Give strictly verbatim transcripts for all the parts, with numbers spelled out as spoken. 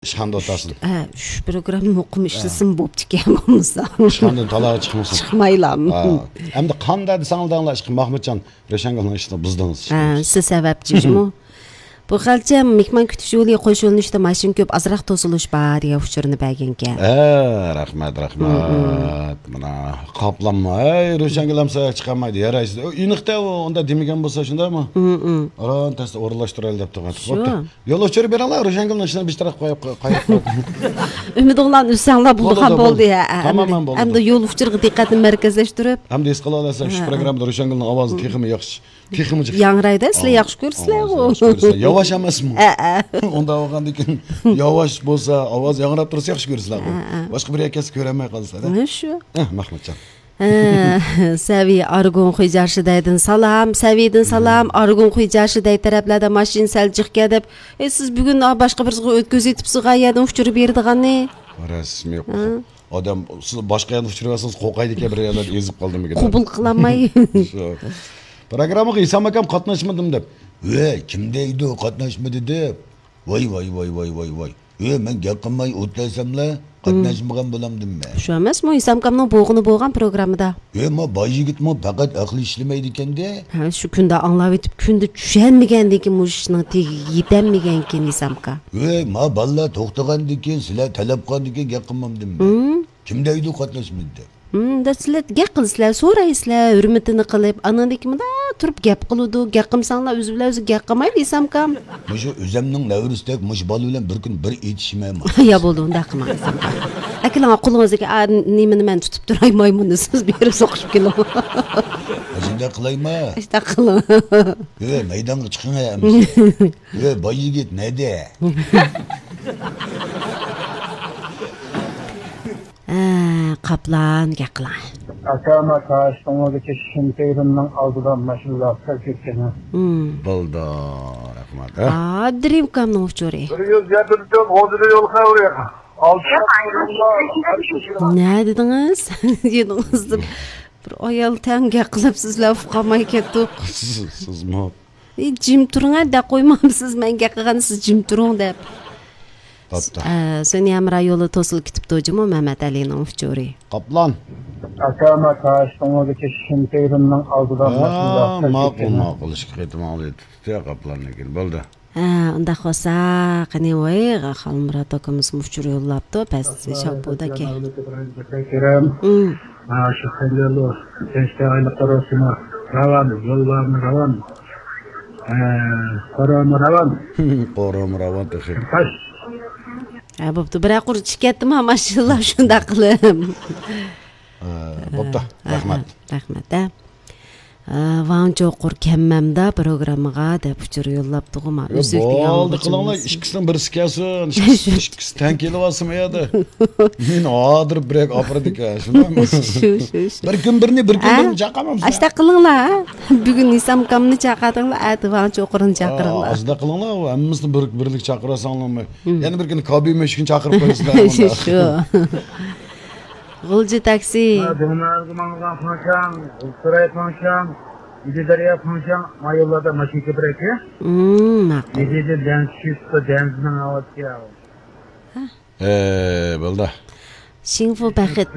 ئىشخانىدا ئولتۇرسۇن. ھە، شۇ پروگرامما ئۇقۇم ئىشلىسىمۇ بوپتىكەن بولمىسا. ئىشخانىدىن تالاغا چىقمىسۇن. چىقمايلا. ھە. ئەمدى قانداق دېسەڭلار دەڭلار، ئىشقىلىپ ماخمۇتجان رۆشەنگۈلنىڭ ئىشىنى بۇزدىڭىز. ھە، سىز سەۋەبچى جۇمۇ. بۇ خەلچە مېھمان كۈتۈش يولى قوش يۆنىلىشتە ماشىنا كۆپ، ئازراق توسۇلۇش بار دېگەن ئۇچۇرنى بەرگەنكەن. ھە، رەھمەت، رەھمەت. مانا قاپلانما. ھەي، رۆشەنگۈل ئەمسە چىقالمايدۇ، يارايسىز. ئۇ ئېنىقتا ئۇ ئۇنداق دېمىگەن بولسا شۇنداقمۇ؟ ئاران تەستە ئورۇنلاشتۇرايلى دەپ تۇرغان. شۇ. بوپتۇ. يول ئۇچۇرى بېرىڭلار، رۆشەنگۈلنىڭ ئىشىنى بىر تەرەپ قويۇپ، قويۇپ. ئۈمىدىڭلارنى ئۈزسەڭلار بولىدىغان بولدى. ھە، ھە، تامامەن بولىدۇ. ئەمدى يول ئۇچۇرىغا دىققەتنى مەركەزلەشتۈرۈپ. ئەمدى ھېس قىلىۋالىسىز، شۇ پروگراممىدا رۆشەنگۈلنىڭ ئاۋازى تېخىمۇ ياخشى، تېخىمۇ جىق. ياڭرايدۇ، سىلەر ياخشى كۆرىسىلەرغۇ. ياۋاش ئەمەسمۇ؟ ھە، ھە. ئۇنداق بولغاندىن كېيىن ياۋاش بولسا، ئاۋاز ياڭراپ تۇرسا ياخشى كۆرىسىلەرغۇ. ھە، ھە. باشقا بىر يەرگە كەتسە كۆرەلمەي قالىسىلەر. ھە، شۇ. ھە، مەھمۇتجان. ھە، سەۋىي ئارگۇن خۇيجياشىدەيدىن سالام، سەۋىيدىن سالام، ئارگۇن خۇيجياشىدەي تەرەپلەردە ماشىنا سەل جىقكەن دەپ، ئەي، سىز بۈگۈن، ئا، باشقا بىرسىگە ئۆتكۈزۈۋېتىپسىز، غايەدىن ئۇچۇر بېرىدىغاننى. رەسمىي. ھە. ئادەم، سىز باشقا يەردە ئۇچۇر بەرسىڭىز، قورقايدىكەن، بىر يەرلەردە ئېزىپ قالدىمىكىن دەپ. قوبۇل قىلالماي. شۇ. پروگراممىغا ھېسام ئاكام قاتناشمىدىم دەپ. ۋەي، كىم دەيدۇ قاتناشمىدى دەپ؟ ۋاي، ۋاي، ۋاي. ۋە، مەن گەپ قىلماي ئولتۇرساملا، قاتناشمىغان بولامدىم مەن. شۇ ئەمەسمۇ، ھېسام ئاكامنىڭ بولغىنى بولغان پروگراممىدا. ۋە، ما باي يىگىتمۇ پەقەت ئەقلى ئىشلىمەيدىكەندە. ھە، شۇ كۈندە ئاڭلاۋېتىپ، كۈندە چۈشەنمىگەندىن كېيىن مۇشۇ ئىشنىڭ تېگىگە يېتەلمىگەنكەن ھېسام ئاكا. ۋە، ما بالىلار توختىغاندىن كېيىن، سىلەر تەلەپ قىلغاندىن كېيىن گەپ قىلمامدىم مەن. كىم دەيدۇ قاتناشمىدى دەپ؟ ھىم، دە سىلەر گەپ قىلىسىلەر، سورايسىلەر، ھۆرمىتىنى قىلىپ، ئانىڭدىن كېيىن مۇنداق تۇرۇپ گەپ قىلىدۇ، گەپ قىلمىساڭلار ئۆزى بىلەن ئۆزى گەپ قىلمايدۇ، ھېسام ئاكام. مۇشۇ ئۆزەمنىڭ نەۋرىسىدەك مۇشۇ بالا بىلەن بىر كۈن بىر ئېتىشىمەن. يا بولدى، ئۇنداق قىلماڭ، ھېسام ئاكا. ئەكېلىڭ قولىڭىزدىكى، ئا، نېمىنى مەن تۇتۇپ تۇراي، مايمۇننى سىز بېرىپ سوقۇشۇپ كېلىڭ. ئاشۇنداق قىلايما؟ ئاشۇنداق قىلىڭ. يۆ، مەيدانغا چىقىڭ ئەمىسە. يۆ، باي يىگىت نەدە؟ ھە، قاپلان گەپ قىلىڭ. ئاكا، ما تاشتوڭىدىكى شىنتېيرىمنىڭ ئالدىدا ماشىنىلار سەل كۆپكەن. ھىم. بولدى، رەھمەت. ھە؟ ئا، درىمكامنىڭ ئۇچۇرى. بىر يۈز يەتتە تۆت غوجىدا يول خەۋىرى. ئالتە. نە دېدىڭىز؟ يېنىڭىزدا بىر ئايال تەڭ گەپ قىلىپ سىزلەر ئۇقالماي كەتتۇق. سىز، سىزمۇ. ئى، جىم تۇرۇڭ، ھە، دەپ قويمامسىز، مەن گەپ قىلغاندا سىز جىم تۇرۇڭ دەپ. بوپتۇ. ئە، سۆنيەمرا يولى توسۇلۇپ كېتىپتۇ جۇمۇ، مەمەت ئەلىنىڭ ئۇچۇرى. قاپلان. ئاكا، ما تاشتوڭىدىكى شىنتېيرىمنىڭ ئالدىدا ماشىنىلار سەل ماقۇل، كۆپكەن. ماقۇل، ئىككى قېتىم ئاڭلىتىپتۇ، قاپلاننىڭكىنى. بولدى. ھە، ئۇنداق بولسا، قېنى، ۋاي، خالمۇرات ئاكىمىزمۇ ئۇچۇر يوللاپتۇ، پەس شاپۇداكى. ھە، شۇ خەنجەرلۇ، تىنچلىق ئايلىقلار ئولتۇرما. راۋان، يوللارمۇ راۋان. ھە، قورۇما راۋان. قورۇما راۋان تېخى. تاش. ھە، بوپتۇ. بىرەر قۇر چىقىپ كەتتىمۇ، ماشىنىلار شۇنداق قىلىپ. ھە، بوپتۇ. ھە، رەھمەت. ھە، رەھمەت، ھە. ئە، ۋاڭ چوقۇر كەممەمدا پروگراممىغا دەپ ئۇچۇر يوللاپتۇغۇ ما. يا، ئۈزۈك دېگەن بولدى، قىلىڭلار، ئىككىسىنىڭ بىرسى كەلسۇن. ئىككىسى، ئىككىسى تەڭ كېلىۋالسىمۇ يا دە. مېنى ھادىر بىرەك ئاپىرىدىكەن، شۇنداقمۇ؟ شۇ، شۇ، شۇ. بىر كۈن بىرنى، بىر كۈن ھە؟ بىرنى چاقىرمامسىز؟ ئاشۇنداق قىلىڭلار، ھە؟ بۈگۈن ھېسام ئاكامنى چاقىردىڭلار، ئەتە ۋاڭ چوقۇرنى چاقىرىڭلار. ئاشۇنداق قىلىڭلار، ھەممىسىنى بىر، بىرلىك چاقىرساڭلارمۇ. ھىم. يەنە بىر كۈنى كابى مۈشۈكنى چاقىرىپ قويىسىلەر. شۇ، شۇ. غۇلجا تاكسى. دىڭنازغا ماڭغان فاڭشاڭ، غۇلتۇراي فاڭشاڭ، ئىدى دەريا فاڭشاڭ، ما يوللاردا ماشىنا كۆپرەك. مم، ماقۇل. ئىدىدە دەنز چۈشۈپ، دەنزنىڭ ئاۋازى. ھە. ئە، بولدى. شىڭفۇ بەخت.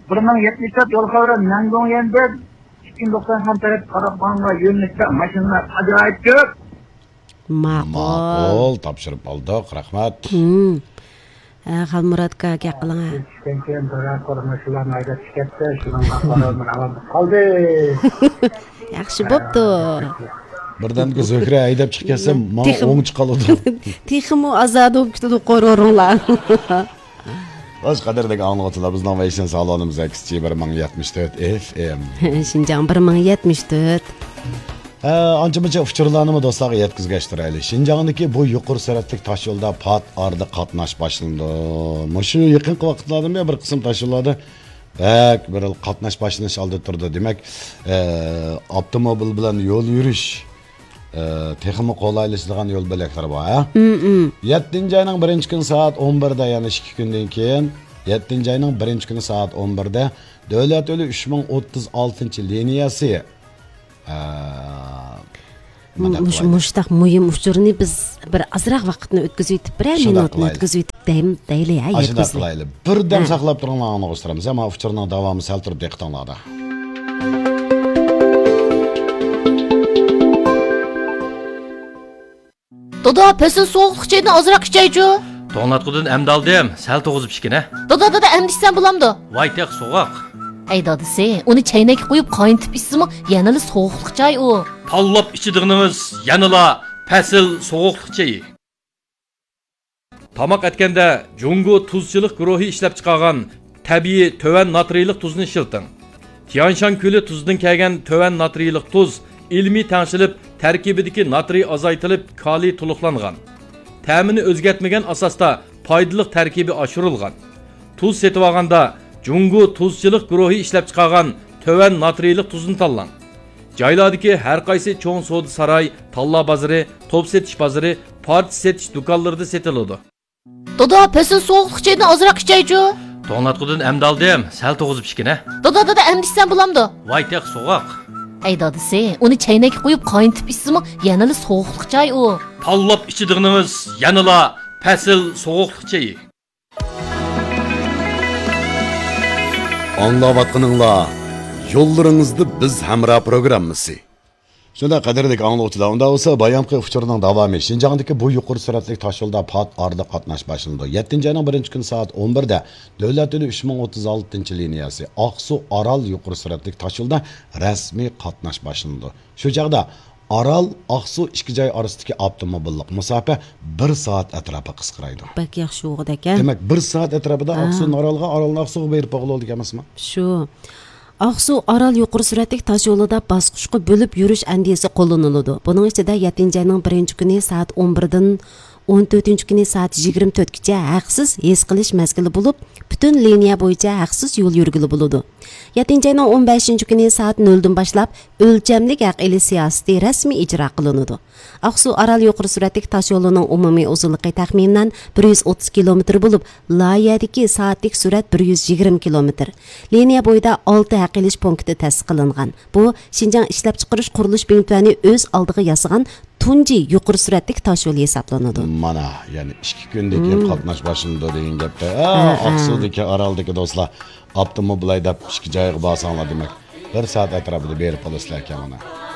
بىر مىڭ يەتمىش تۆت يول خەۋىرى نەندۇڭيەندىن ئىككى مىڭ توقسان خەن تەرەپ قاراپ ماڭغان يۆنىلىشتە ماشىنىلار ئاجايىپ كۆپ. ماقۇل. ماقۇل، تاپشۇرۇپ ئالدۇق، رەھمەت. ھىم. ھە، خالمۇراتكا گەپ قىلىڭ، ھە. چۈشكەن كېيىن بىرەر قۇر ماشىنىلارنى ھەيدەپ چىقىپتۇ، شۇنىڭغا قارىمۇ راۋان قالدى. ياخشى بوپتۇ. بىردەمدىكى زۆھرە ھەيدەپ چىقىپ كەتسە، ماڭا تېخىمۇ ئوڭ چىقالىدۇ. تېخىمۇ ئازادە بولۇپ كېتىدۇ قورۇرۇڭلار. خوش، قەدىردىكى ئاڭلىغۇچىلار، بىزنىڭ ۋەيسىن سالونىمىز ئەكسىچى بىر مىڭ يەتمىش تۆت ئېف ئېم. شىنجاڭ بىر مىڭ يەتمىش تۆت. ھە، ئانچە-مۇنچە ئۇچۇرلارنىمۇ دوستلارغا يەتكۈزگەچ تۇرايلى. شىنجاڭدىكى بۇ يۇقىرى سۈرئەتلىك تاشيولدا پات ئارىدا قاتناش باشلىنىدۇ. مۇشۇ يېقىنقى ۋاقىتلاردا بىر قىسىم تاشيوللاردا بەك بىر قاتناش باشلىنىش ئالدىدا تۇرىدۇ. دېمەك، ئە، ئاپتوموبىل بىلەن يول يۈرۈش، ئە، تېخىمۇ قولايلىشىدىغان يول بۆلەكلىرى بار، ھە؟ مم، مم. يەتتىنچى ئاينىڭ بىرىنچى كۈنى سائەت ئون بىردە، يەنى ئىككى كۈندىن كېيىن، يەتتىنچى ئاينىڭ بىرىنچى كۈنى سائەت ئون بىردە دۆلەت يولى ئۈچ مىڭ ئوتتۇز ئالتىنچى لىنىيەسى. ئە، مۇ-، مۇش-، مۇشۇنداق مۇھىم ئۇچۇرنى بىز بىر ئازراق ۋاقىتنى ئۆتكۈزۈۋېتىپ، بىرەر مىنۇتنى ئۆتكۈزۈۋېتىپ دەم دەيلى، ھە، ئاشۇنداق يەتكۈزلۈك. قىلايلى. بىردەم ھە. ساقلاپ تۇرۇڭلار، ئاڭلىغۇچىلىرىمىز. ئەمما ئۇچۇرنىڭ داۋامى سەل تۇرۇپ دىققىتىڭلاردا. دادا، پەسىل سوغۇقلۇق چايدىن ئازراق ئىچەيچۇ. توڭلاتقۇدىن ئەمدى ئالدىم، سەل توغۇزۇپ ئىچكىنە. دادا، دادا، ئەمدى ئىچسەم بولامدۇ؟ ۋاي تېخى سوغۇق. ھەي دادىسى، ئۇنى چەينەككە قۇيۇپ قاينىتىپ ئىچسىمۇ يەنىلا سوغۇقلۇق چاي ئۇ. تاللاپ ئىچىدىغىنىڭىز يەنىلا پەسىل سوغۇقلۇق چېيى. تاماق ئەتكەندە جۇڭگو تۇزچىلىق گۇرۇھى ئىشلەپچىقارغان تەبىئىي تۆۋەن ناترىيلىق تۇزنى ئىشلىتىڭ. تيەنشان كۆلى تۇزىدىن كەلگەن تۆۋەن ناترىيلىق تۇز ئىلمىي تەڭشىلىپ، تەركىبىدىكى ناترىي ئازايتىلىپ، كالىي تولۇقلانغان. تەمىنى ئۆزگەرتمىگەن ئاساستا پايدىلىق تەركىبى ئاشۇرۇلغان. تۇز سېتىۋالغاندا جۇڭگو تۇزچىلىق گۇرۇھى ئىشلەپچىقارغان تۆۋەن ناترىيلىق تۇزنى تاللاڭ. جايلاردىكى ھەر قايسى چوڭ سودا ساراي، تاللا بازىرى، توپ سېتىش بازىرى، پارچە سېتىش دۇكانلىرىدا سېتىلىدۇ. دادا، پەسىل سوغۇقلۇق چايدىن ئازراق ئىچەيچۇ. توڭلاتقۇدىن ئەمدى ئالدىم، سەل توغۇزۇپ ئىچكىنە. دادا، دادا، ئەمدى ئىچسەم بولامدۇ؟ ۋاي تېخى سوغۇق. ھەي دادىسى، ئۇنى چەينەككە قۇيۇپ قاينىتىپ ئىچسىمۇ يەنىلا سوغۇقلۇق چاي ئۇ. تاللاپ ئىچىدىغىنىڭىز يەنىلا پەسىل سوغۇقلۇق چېيى. ئاڭلاۋاتقىنىڭلار يوللىرىڭىزدا بىز ھەمراھ پروگراممىسى. شۇنداق، قەدىرلىك ئاڭلىغۇچىلار، ئۇنداق بولسا بايامقى ئۇچۇرنىڭ داۋامى. شىنجاڭدىكى بۇ يۇقىرى سۈرئەتلىك تاشيولدا پات ئارىدا قاتناش باشلىنىدۇ. يەتتىنچى ئاينىڭ بىرىنچى كۈنى سائەت ئون بىردە دۆلەت يولى ئۈچ مىڭ ئوتتۇز ئالتىنچى لىنىيەسى ئاقسۇ ئارال يۇقىرى سۈرئەتلىك تاشيولدا رەسمىي قاتناش باشلىنىدۇ. شۇ چاغدا ئارال، ئاقسۇ ئىككى جاي ئارىسىدىكى ئاپتوموبىللىق مۇساپە بىر سائەت ئەتراپىغا قىسقىرايدۇ. بەك ياخشى بولغۇدەكەن. دېمەك، بىر سائەت ئەتراپىدا ھە. ئاقسۇدىن ئارالغا، ئارالدىن ئاقسۇغا بېرىپ بولغىلى بولىدىكەن ئەمەسمۇ؟ شۇ. ئاقسۇ ئارال يۇقىرى سۈرئەتلىك تاش يولىدا باسقۇچقا بۆلۈپ يۈرۈش ئەندىزىسى قوللىنىلىدۇ. بۇنىڭ ئىچىدە يەتتىنچى ئاينىڭ بىرىنچى كۈنى سائەت ئون بىردىن ئون تۆتىنچى كۈنى سائەت يىگىرمە تۆتكىچە ھەقسىز ھېس قىلىش مەزگىلى بولۇپ، پۈتۈن لىنىيە بويىچە ھەقسىز يول يۈرگىلى بولىدۇ. يەتتىنچى ئاينىڭ ئون بەشىنچى كۈنى سائەت نۆلدىن باشلاپ ئۆلچەملىك ھەق ئېلىش سىياسىتى رەسمىي ئىجرا قىلىنىدۇ. ئاقسۇ ئارال يۇقىرى سۈرئەتلىك تاش يولىنىڭ ئومۇمىي ئۇزۇنلۇقى تەخمىنەن بىر يۈز ئوتتۇز كىلومېتىر بولۇپ، لايىھەدىكى سائەتلىك سۈرئەت بىر يۈز يىگىرمە كىلومېتىر. لىنىيە بويىدا ئالتە ھەق ئېلىش پونكىتى تەسىس قىلىنغان. بۇ شىنجاڭ ئىشلەپچىقىرىش قۇرۇلۇش بىڭتۈەنى ئۆز ئالدىغا ياسىغان تۇنجى يۇقىرى سۈرئەتلىك تاش يولى ھېسابلىنىدۇ. مانا، يەنى ئىككى كۈندىن كېيىن مم. قاتناش باشلىنىدۇ دېگەن گەپتە. ھە، ھە. ئاقسۇدىكى، ئارالدىكى دوستلار، ئاپتوموبىل ھەيدەپ ئىككى جايغا بارساڭلار، دېمەك، بىر سائەت ئەتراپىدا بېرىپ بولىسىلەر ئىكەن مانا.